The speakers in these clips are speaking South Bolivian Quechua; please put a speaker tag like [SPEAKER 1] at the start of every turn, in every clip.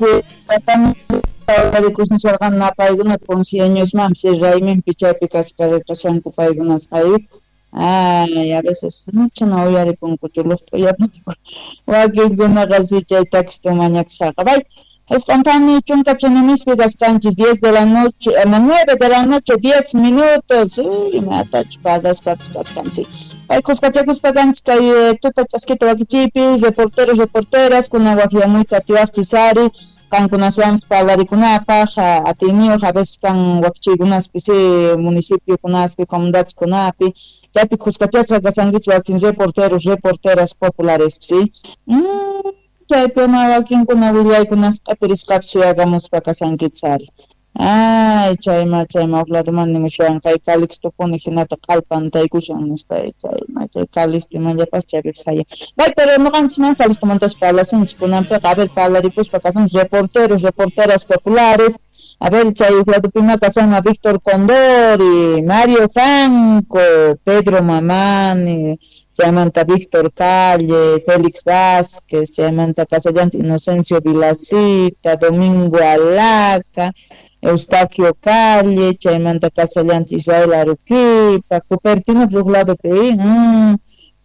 [SPEAKER 1] Chaypi tatami napaykunata concieñosmanpis rayminpi chaypi kasqarikashanku paykunasqa. Ay, a veces mucho no uyaripunkuchu luqt'uyapunku wakinkunaqa si chay taxista mañakushaqa. Bay, esqonpani chunka chinimispi kasqanchis 10 de la noche, 9 de la noche, 10 minutos. Uy, imatachu pagaspapis kasqanchis. Bay, kuskachakuspa kanchis kay tuta ch'askita wakichiypi, reporteros, reporteras, kuna waqyamuyta atiwaqchis ari, qankunaswanpis parlarikunapaq, atiyniyuq a veces kan wakichiykunaspi si municipiokunaspi, comunidadeskunapi, chaypi kuskachasqa kasankichis wakin reporteros, reporteras populares, si. Chaypi ma wakinkuna willaykunas q'apirisqapis suyakamuspa kasankichis ari. Ay, chayma chayma huk ladoman nimushawan kay Calixtopuni hinata q'alpantaykushan nispa, chayma chay Calixto imallapas chaypipas hayan. Bay, pero noqanchis mana Calixtomantachu parlasunchis kunanpiqa, a ver, parlaripuspa kasunchis reporteros, reporteras populares. A ver, chay huk ladopima kasanma Víctor Condori, Mario Franco, Pedro Mamani, chaymanta Víctor Calle, Félix Vázquez, chaymanta kasallanta Inocencio Vilacita, Domingo Alaca, Eustaquio Calle, chaymanta kasallanta Israel Aruquipa, Cupertino huk ladopi,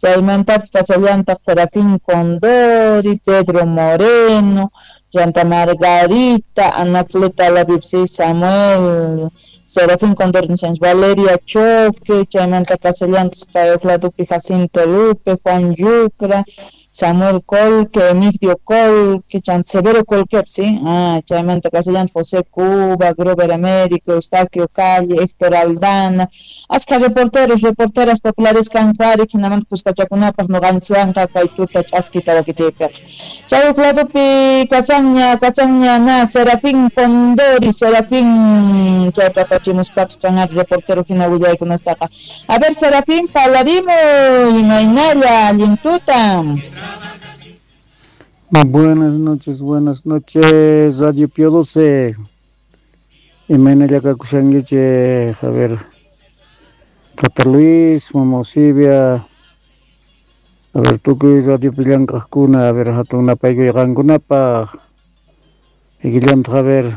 [SPEAKER 1] chaymantapis kasallanta Serafín Condori, Pedro Moreno, Llanta Margarita, Anacleta Lavipsi, Samuel, Serafín Condori nishanchis, Valeria Choque, chaymanta kasallanta kay huk ladopi Jacinto Lupe, Juan Yucra, Samuel Colque, Emigdio Colque, chanta Severo Colque, ¿sí? Ah, chaymanta kasallanta José Cuba, Grover Américo, Eustaquio Calle, Héctor Aldana, aska reporteros, reporteras populares kankuari, hinamanta kuskachakunapaq noqanchikwanqa kay tuta ch'askita wakichiypiqa. Chay huk ladopi kasanña, kasanña na Serafín Condori, Serafín chaypi apachimuspapis kanari reportero hina willaykunastaqa. A ver, Serafín, parlarimuy, imaynalla, allin tuta.
[SPEAKER 2] Buenas noches, Radio Pío 12. Imaynalla kakushankichik, a ver, Tata Luis, Mama Osibia, a ver, tukuy Radio Pillank'ajkuna, a ver, hatun napaykuy qankunapaq. Ikillantaq, a ver,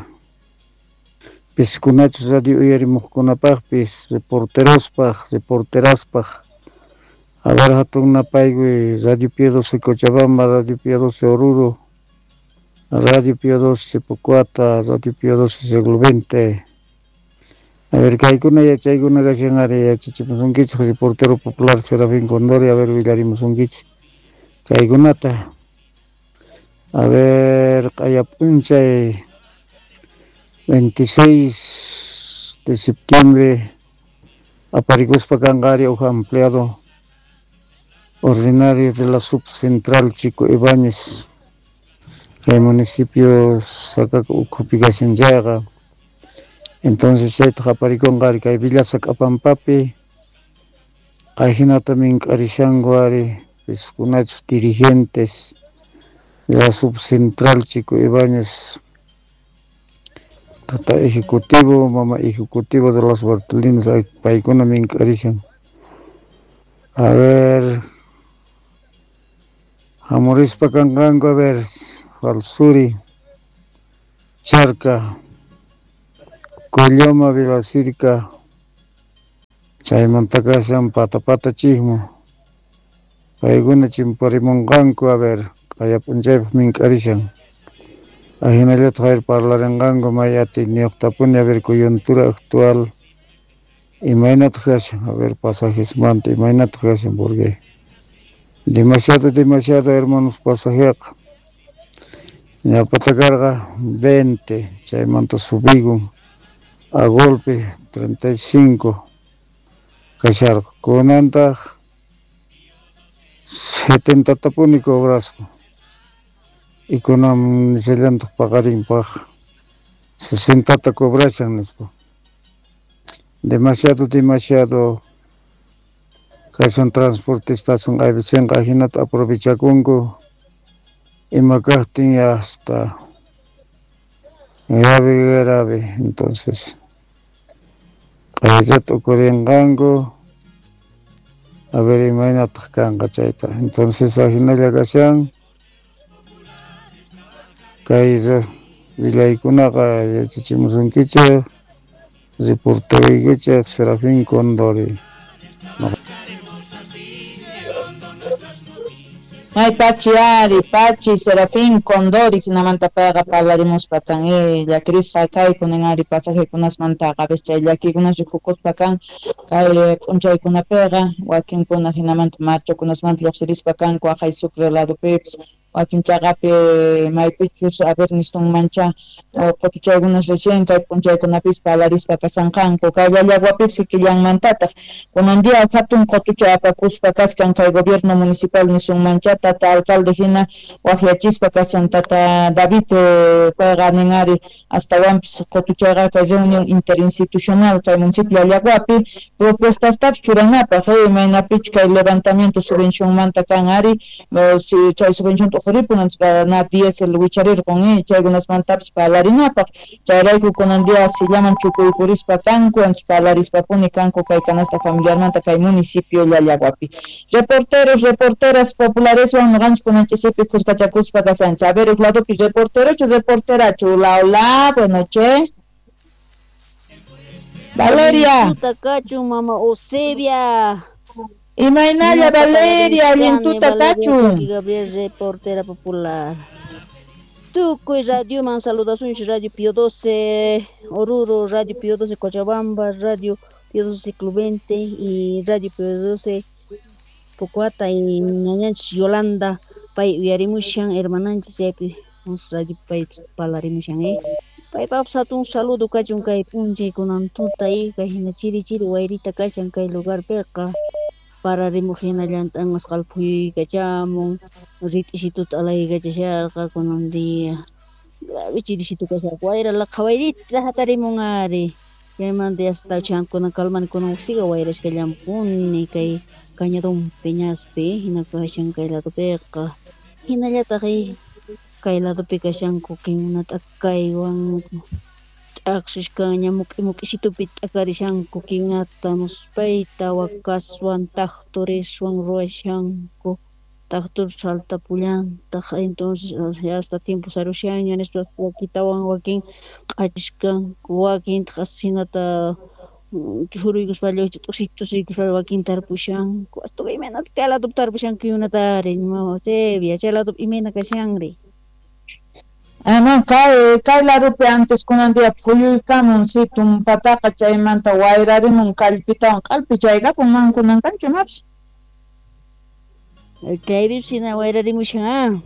[SPEAKER 2] piskunachis radio uyarimuqkunapaqpis, reporterospaq, reporteraspaq. A ver, hatun napaykuy, Radio Pío 12 Cochabamba, Radio Pío 12 Oruro, Radio Pío 12 Pocoata, Radio Pío 12 Siglo XX. A ver, kaykuna yachaykuna kashan ari yachachimusunkichik, reportero popular Serafín Condori, a ver, willarimusunkichik kaykunata. A ver, q'aya p'unchay 26 de septiembre aparikuspa kanqa ari huk empleado ordinario de la subcentral Chico Ibáñez, kay municipio Sacaca ukhupi kashan chayqa. Entonces chaytaq aparikunqa ari kay Villa Sac'apampapi, kayhinata mink'arishanku ari piskunachus dirigentes de la subcentral Chico Ibáñez, tata ejecutivo, mama ejecutivo de los Bartolinos, paykuna mink'arishan. A ver, hamurispa kanqanku, a ver, Falsuri, Charca, Colloma, Vilacirca, chaymanta kashan Patapata chismo, paykuna chimparimunqanku, a ver, qaya p'unchaypaq mink'arishan. Ahinallataq a ver parlarinqanku may atiyniyuqtapuni, a ver, coyuntura actual, imaynataq kashan, a ver, pasajesmanta, imaynataq kashan, porque demasiado, demasiado, hermanos, pasajeqa. Ñapata karqa 20, chaymanta subikun a golpe 35 kasharqa. Kunantaq 70 tapuni cobrasqa. Y kunan nishallantaq paqarinpaq 60 cobrashan nispa. Demasiado, demasiado kashan transportistas aybisinqa ahinata aprovechakunku ima kaqtin hasta grave, grave. Entonces qayllata ukurinqanku, a ver imaynataq kanqa chayta. Entonces ahinalla kashan kay Willaykunaqa yachachimusunkichej reporteraykichej Serafín Condori.
[SPEAKER 1] May pachi ari, pachi Serafín Condori, hinamanta payqa parlarimuspa kan, llakirisqa kayku nin ari pasajekunasmantaqa, a veces chay llakikunas rikukuspa kan, kay p'unchaykunapiqa wakinkuna hinamanta marchakunasmanta lluqsirispa kanku aqhay Sucre ladopipis, wakin chaqapi maypichus a ver nisunmancha qutuchaykunas recién kay p'unchaykunapis parlarispa kasanqanku, kay Llallaguapipis kikillanmantataq kunan día hatun qutuchay apakuspa kashkan kay gobierno municipal nisunmancha tata alcalde hina waqyachispa kashan tata David payqa nin ari astawanpis qutuchayqa kay reunión interinstitucional kay municipio Llallaguapi propuestastapis churanapaq imaynapichu kay levantamiento subvencionmanta kan ari chay subvención t'uquripun na diésel wicharirqun chaykunasmantapis parlarinapaq chayrayku kunan día sillaman chukuykurispa kanku antes parlarispapuni kanku kay canasta familiarmanta kay municipio Llallaguapi. Reporteros, reporteras populareswan noqanchik kunan ch'isipi khuskachakuspa kashanchik. A ver, uq ladopi reporterochu, reporterachu. Hola, hola, buenas noches. Valeria.
[SPEAKER 3] Tuta kachun, mama Eusebia.
[SPEAKER 1] Imaynalla Valeria, allin tuta kachun.
[SPEAKER 3] Gabriel, reportera popular. Tukuy radioman saludasunchik, Radio Pío 12, Oruro, Radio Pío 12 Cochabamba, Radio Pío 12 Clubente y Radio Pío 12 Pocoata y ñañanchis Yolanda, pay uyarimushan, hermananchis chaypi radio pay parlarimushan, Paypapas hatun saludo kachun kay p'unchay kunan tuta kay hina chiri chiri wayrita kashan kay lugarpiqa pararimuq hinallanta anqasqa phuyuykachamun rit'isituta alaykachasharqa kunan día grave chirisitu kasharqa wayra laqha wayrita hatarimun ari chaymanta yasta kunan kalmani kunan uqsiqa wayrashkallampuni kay cañadón peñaspi hina kashan kay ladopiqa hinallataq kay ladopi kashanku kinkuna t'akaywan ch'aqsishkaña muk'i muk'isitupi t'akarishanku kinata muspayta wakaswan taqturiswan ruwashanku taqtur saltapullantaq entonces hasta tiempo sarushanña nispa wakitawan wakin q'achishkanku wakintaq hinata churuykuspa t'usiykuspa wakin tarpushanku hasta imaynata kay ladopi tarpushanku yunatari mama Eusebia chay ladopi imayna kashanri.
[SPEAKER 1] No, kay ladopi antes kunan día phuyuykamun si tumpataqa chaymanta wayrarimun kallpitawan q'alpi chaykapun man kunan kanchu imapis.
[SPEAKER 3] Kaypipis hina wayrarimushan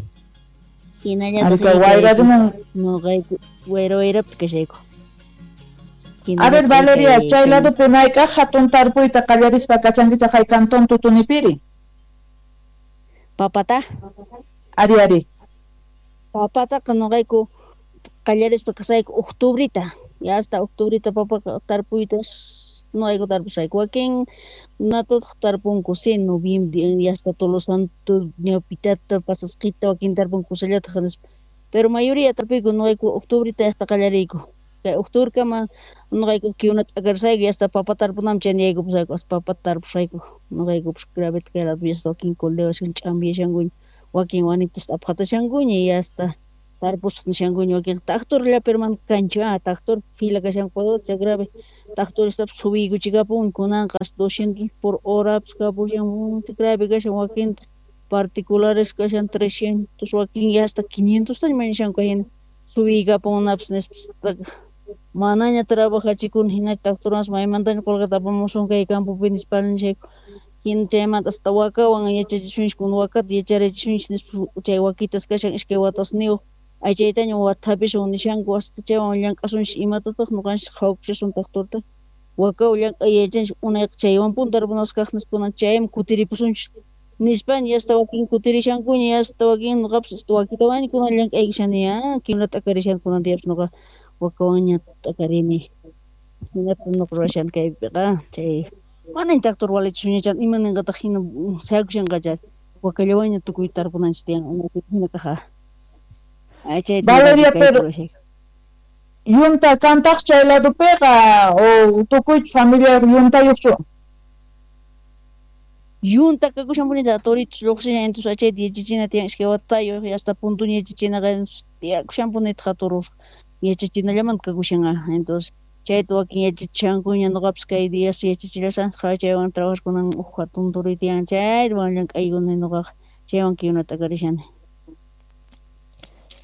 [SPEAKER 3] hinallataq
[SPEAKER 1] wayrarimun
[SPEAKER 3] noqayku wayra wayrapi kashayku.
[SPEAKER 1] A ver Valeria, chay ladopi mayk'aq hatun tarpuyta qallarispa kashankichaq hay cantón Tutunipiri?
[SPEAKER 3] Papata?
[SPEAKER 1] Ari ari.
[SPEAKER 3] Papataqa noqayku qallarispa kasayku octubrita, ya hasta octubrita papaqa tarpuyta noqayku tarpusayku wakin natataq tarpunku si noviembre ya hasta Todos los Santos ñawpitata pasasqita wakin tarpunku kusallataq nispa pero mayoría tarpuyku noqayku octubrita hasta qallariyku kay octubrekama noqayku kiwnata t'akarsayku ya hasta papa tarpunam chaniyayku hasta papa tarpusayku noqaykupas graveta kay lado hasta wakin coldewashan ch'ampiyashankuña wakin wanitus aphatashankuña y hasta tarpusaq nishankuña wakin taqturlla pero mana kanchu taqtur fila kashanku chay grave taqturistapis subiykuchikapun kunanqa hasta 200 por hora kapushan grave kashan wakinta particulares kashan 300 wakin ya hasta 500 taña mañashanku hina subiykapunapis nispa manaña trabajachikuna hina taqturmas maymantaña qullqita apamusun kay campopi nispa nishayku hina chaymanta hasta wakawan yachachisunchik kuna wakata yacharachisunchik nispa chay wakitas kashan iskay watasniyuq aychaytaña wathapisun nishanku hasta chaywan llank'asunchik imatataq ñuqanchik qhawkushasun taqturta wakawan llank'ay yachanchik unayqa chaywanpuni tarpunasqa kaq nispa chayman kutiripusunchik nispaña hasta wakin kutirishankuña hasta wakin ñuqapas hasta wakitawanña kunan llank'aykashani kiwnata t'akarishan kunan diyapis ñuqa wakawanña t'akarini hinata ñuqa ruwashani kaypiqa chay manaña taqtur walichisunñachan ima ninqataq hina sayakushanqacha wakallawanña tukuy tarpunanchik tiyan hina kaqa.
[SPEAKER 1] Valeria, pero yunta kantaq chay ladopiqa o tukuychu familia yuntayuqchu?
[SPEAKER 3] Yunta kakushanpunita toritos lluqsishan entonces achayta yachachina tiyan iskay watayuq hasta puntuña yachachinaqa tiyakushanpunitaq turusqa Yachachinallamanta kakushan entonces chayta wakin yachachishankuña noqapis kay días yachachillashan chaywan trabajarkunan uj hatun turuy tiyan chaywan llank'aykuni noqaqa chaywan kayuna t'akarishani.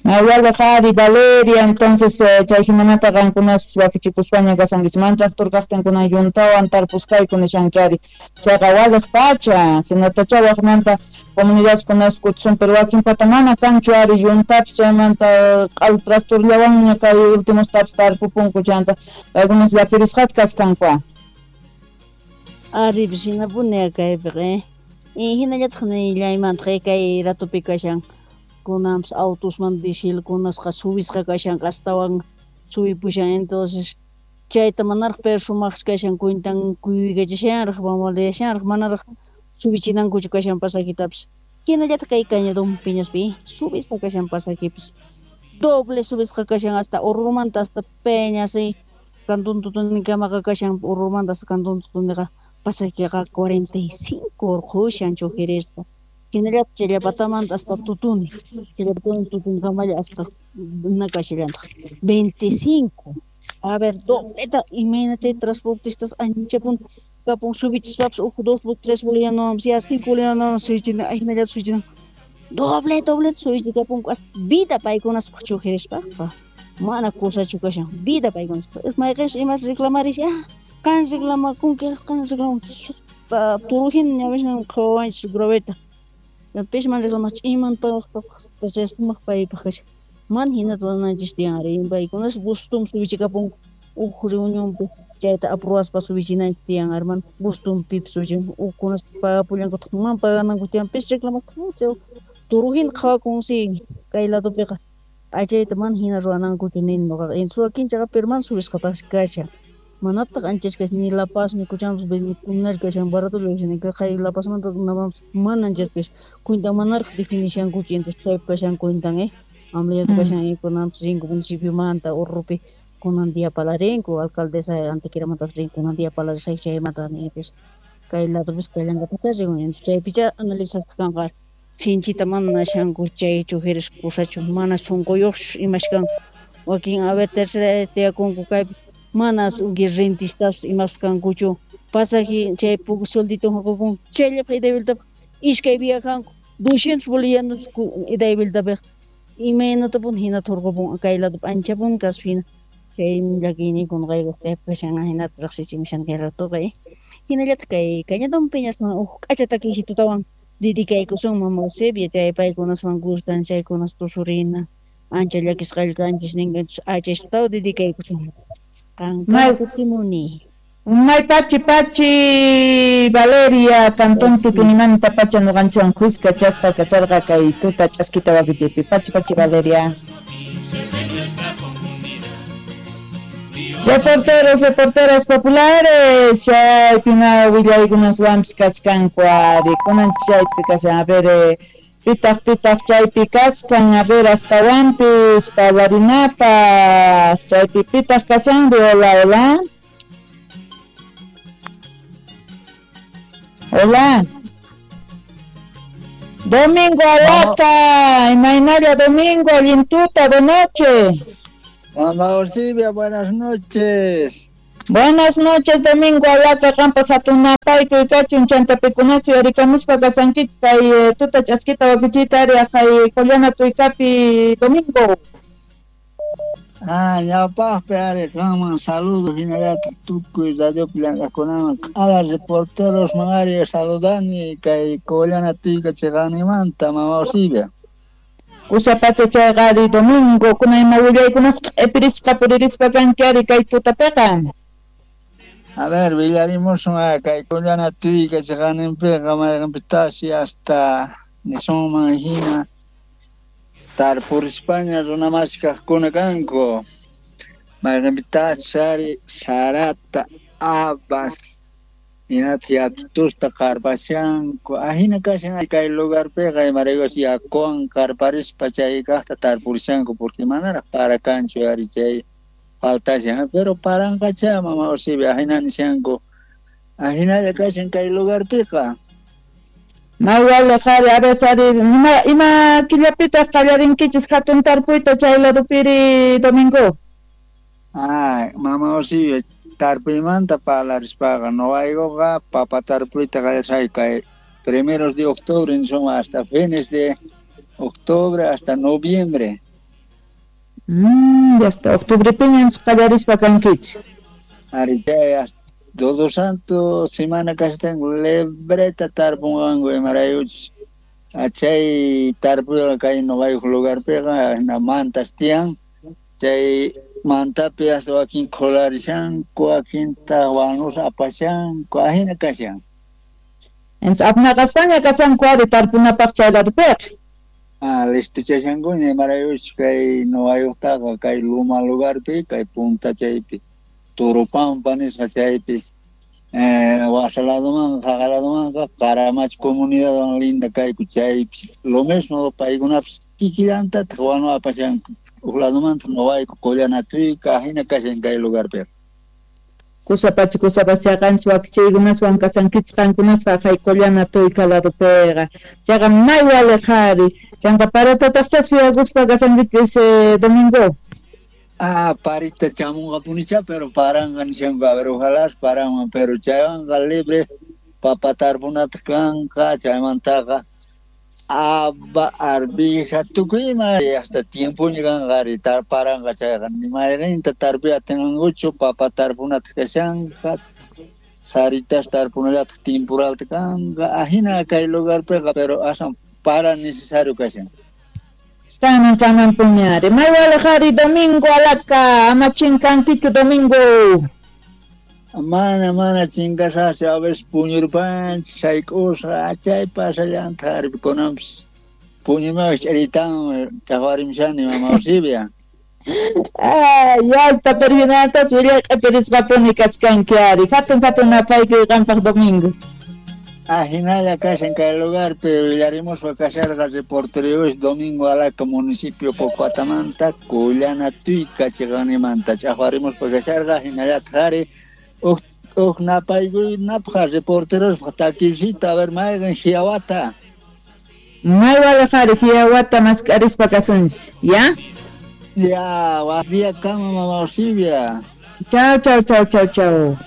[SPEAKER 1] Mayawalej ari Valeria, entonces chay hinamanta qankunaspis wakichikuspaña kasankichik mana tractor kaqtin kunan yuntawan tarpusqayku nishanki ari chayqa walej pacha hinatacha waqmanta comunidadkunas kutisun pero wakinpata mana kanchu ari yuntapis chaymanta q'alu tractorllawanña kay ultimostapis tarpupunku chanta paykunas llakirisqata kaskanku.
[SPEAKER 3] Aripis hinapuni kaypiqa hinallataq nillaymantaj kay ratupi kashan kunanpis autosman dieselkunasqa subisqa kashan astawan subipushan entonces chayta manaraq pero sumaqsi kashan cuentan kuykachashanraq bambaleyashanraq manaraq subichinankuchu kashan pasajitapis hinallataq kay Cañadón Peñaspi subisqa kashan pasajipis doble subisqa kashan hasta Orurumanta hasta Peñas Cantón Tutunikamaqa kashan Orurumanta hasta Cantón Tutuniqa pasajeqa 45 urqushan chojerista hinallataq Challapatamanta hasta Tutuni Challapatuni Tutunkamalla hasta nakashallantaq 25 a ver dobleta imayna chay transportistas anchapun kapun subichispapis uj 2 3 bolivianowanpis ya 5 bolivianowan subichina hinallata subichina doble dobleta subichikapunku hasta vida paykunaspaq chojerishpaqqa mana kusachu kashan vida paykunaspaq mayqinchus imas reclamarish qan reclamakunki qan reclamanki hasta turuhina ñawishnan qhawawanchis graveta pishman reclamach iman paqpaq sumaq paypaq kashan mana hinata ruwananchis tiyan ari paykunas gustum subichikapunku uj reunionpi chayta aprobaspa subichinanchis tiyan ari mana gustunpipis subichin ujkunas pagapullankutaq mana pagananku tiyan pis reclamaqtaq turuhina qhawakunsi kay ladopiqa achayta mana hina ruwanankuchu nini noqaqa entonces wakinchaqa pero mana subisqataqsi kashan manataq anchas kashan ni La Paz ni Cochabamba kunari kashan baratolla kashan kay La Pazmanta namanpis mana anchas kashan cuenta manaraq definishankuchu entonces chaypi kashan cuentan amlayata kashan kunanpis rinku municipiomanta Orrupi kunan día palarinku alcaldesa Antequeramanta rinku kunan día palarishay chaymanta entonces kay ladopis kallankapis rinku entonces chaypicha analizasqa kanqa sinchita mana nashanku chay chojeres kusachu mana sunquyuqchu imash kanku wakin a ver tercera tiyakunku kaypi mana rentistas imas kankuchu pasaje chay poco sueldito qukun chayllapaq ida y vueltapaq iskay viajanku 200 bolivianos ida y vueltapaq imaynatapuni hinata hurqupun kay ladopi anchapuni kaspa hina chay llakiyniykun noqayku kaypi kashan hinata riqsichimushan kay ratoqa hinallataq kay Cañadón Peñasman uj k'acha takiyshitutawan dedicaykusun mama Eusebia chay paykunasman gustan chaykunas tusurina ancha llakisqalla kanchis ninka entonces achayshitutawan dedicaykusun. May
[SPEAKER 1] May pachi pachi Valeria Cantón Tutunimanta pacha noqanchikwan khuska chasqa kasarqa kay tuta ch'askita wakichiypi pachi pachi Valeria. Reporteros, reporteras populares, chaypi ma willaykunaswanpis kachkanku ari kunan chaypi kashan a ver pitaq pitaq chaypi kaskan a ver astawanpis parlarinapaq chaypi pitaq kashanri hola hola hola Domingo Alaca, imaynalla Domingo, allin tuta, buenas noches.
[SPEAKER 4] Mamá Orsibia, buenas noches.
[SPEAKER 1] Buenas noches, Domingo Alaca, qampa hatunapayku kachun chantapikunachu yarikamuspa kasankichik kay tuta ch'askita wakichiyta ari aqhay Qollana Tuykapi, Domingo.
[SPEAKER 4] Ñawpaqpi ari qanman saludo hinallataq tukuy radiopi llank'aqkunaman q'ala reporterosman ari saludani kay Qollana Tuyka chiqanimanta, Mama Orsibia.
[SPEAKER 1] Kusapacha chayqa ari Domingo, kuna ima willaykunas q'ipirisqa puririspa kanki ari kay tutapiqa.
[SPEAKER 4] A ver, willarimusun kay Qollana Tuyka chiqaninpiqa mayqinpitashi hasta nisunman hina tarpurispaña runamasi kaqkuna kanku mayqinpitashi ari sarata habas hinata yakitusta qarpashanku ahina kashan kay lugarpiqa imaraykus yakuwan qarparispa chay kaqta tarpurishanku porque manaraq para kanchu ari chay faltashan pero paranqacha Mama Orsibia ahina nishanku ahinalla kashan kay lugarpiqa.
[SPEAKER 1] Maywalej ari a veces ari ima killapitaq qallarinkichis hatun tarpuyta chay ladopiri Domingo.
[SPEAKER 4] Ah, mama Osivia, tarpuymanta parlarispaqa noqaykuqa papa tarpuyta qallarishayku kay primeros de octubre nisoma hasta fines de octubre hasta noviembre.
[SPEAKER 1] Hasta octubrepiña qallarispa kankichik.
[SPEAKER 4] Ari chay hasta Todo Santo semana kashtan libreta tarpunqanku imaraykuchus chay tarpuyqa kay noqaykuq lugarpiqa hina mantas tiyan chay mantapi hasta wakin qhularishanku wakintaq wanus apashanku ajina kashan.
[SPEAKER 1] Entonces apnaqaspaña kashanku ari tarpunapaq chay ladopiqa.
[SPEAKER 4] Ah, listuchashankuña imaraykuchus kay noqaykuqtaqa kay luma lugarpi kay punta chaypi Turupampa nisqa chaypi wasa ladomanqa jaqa ladomanqa Qaramacha comunidadwan linda kayku chaypi lo mismo paykunapis kikillantataq wanu apashanku uj ladomanta noqayku Qollanatuyka ajina kashan kay lugarpiqa.
[SPEAKER 1] Kusapacha kusapacha chayqanchis wakichiykunaswan kashankichis qankunasqa jay Qollanatuyka ladopiqa chayqa may waliq ari chanta paratataqcha suyakuspa kashankichis domingo.
[SPEAKER 4] Ah, parita chamunqapunicha, pero paranqa nishanku, a ver, ojalá paranman, pero chaywanqa libre papa tarpunataq kanqa, chaymantaqa aba, arvija, tukuy ima hasta tiempoña kanqa ari paranqa chayqa, ni mayqinta tarpuy atinqankuchu, papa tarpunataq kashanqa, saritas tarpunallataq temporalta kanqa, ajina kay lugarpiqa, pero asan para necesario kashan.
[SPEAKER 1] Kaman kaman puñari. May waliq domingo alaka, ama chinkankichu domingo.
[SPEAKER 4] Mana mana chinkasaqchu, a veces puñurpanchis, sayk'usqa, chay pasallantaq ari kunanpis puñumaqa ch'iritan chaqwarimshani mama Osivia.
[SPEAKER 1] Ah, ya está perinatas willay q'ipirisqapuni kachkanki ari. Hatun hatun napaykuy qampaq domingo.
[SPEAKER 4] Ah, hinalla kashan kay lugarpi willarimuspa kasharqa reporteros Domingo Alaca municipio Pocoatamanta Qollanatuyka chiqanimanta ch'aqwarimuspa kasharqa hinallataq ari uj napaykunapaq reporterospaq takisita a ver mayqin hiawata.
[SPEAKER 1] May waliq ari hiawata mask'arispa kasunchis, ya?
[SPEAKER 4] Ya, waq día kama mama Osivia.
[SPEAKER 1] Chau, chau, chau, chau, chau.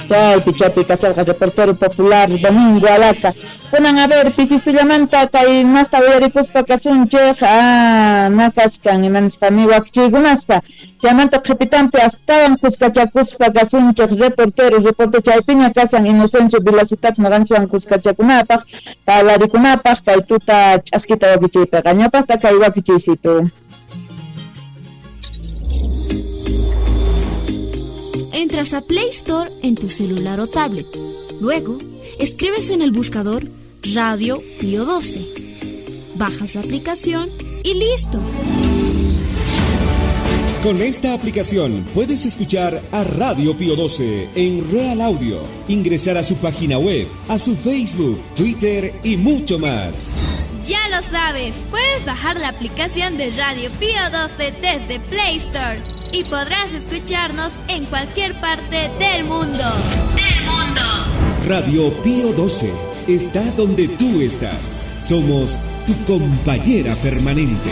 [SPEAKER 1] Chaypi chaypi kasharqa reportero popular Domingo Alaca. Kunan a ver pisistullamanta kay masta uyarikuspa kasunchik na kashkan imanisqami wakichiykunaspa chaymanta qhipitanpi astawan kuskachakuspa kasunchik reportero reporte chaypiña kasan Inocencio Vilacitap noqanchikwan kuskachakunapaq parlarikunapaq kay tuta ch'askita wakichiypiqa ñawpaqta kay wakichiysitu.
[SPEAKER 5] Entras a Play Store en tu celular o tablet. Luego, escribes en el buscador Radio Pío 12. Bajas la aplicación y listo.
[SPEAKER 6] Con esta aplicación puedes escuchar a Radio Pío 12 en Real Audio, ingresar a su página web, a su Facebook, Twitter y mucho más.
[SPEAKER 5] Ya lo sabes, puedes bajar la aplicación de Radio Pío 12 desde Play Store y podrás escucharnos en cualquier parte del mundo. ¡Del mundo!
[SPEAKER 6] Radio Pío 12 está donde tú estás. Somos tu compañera permanente.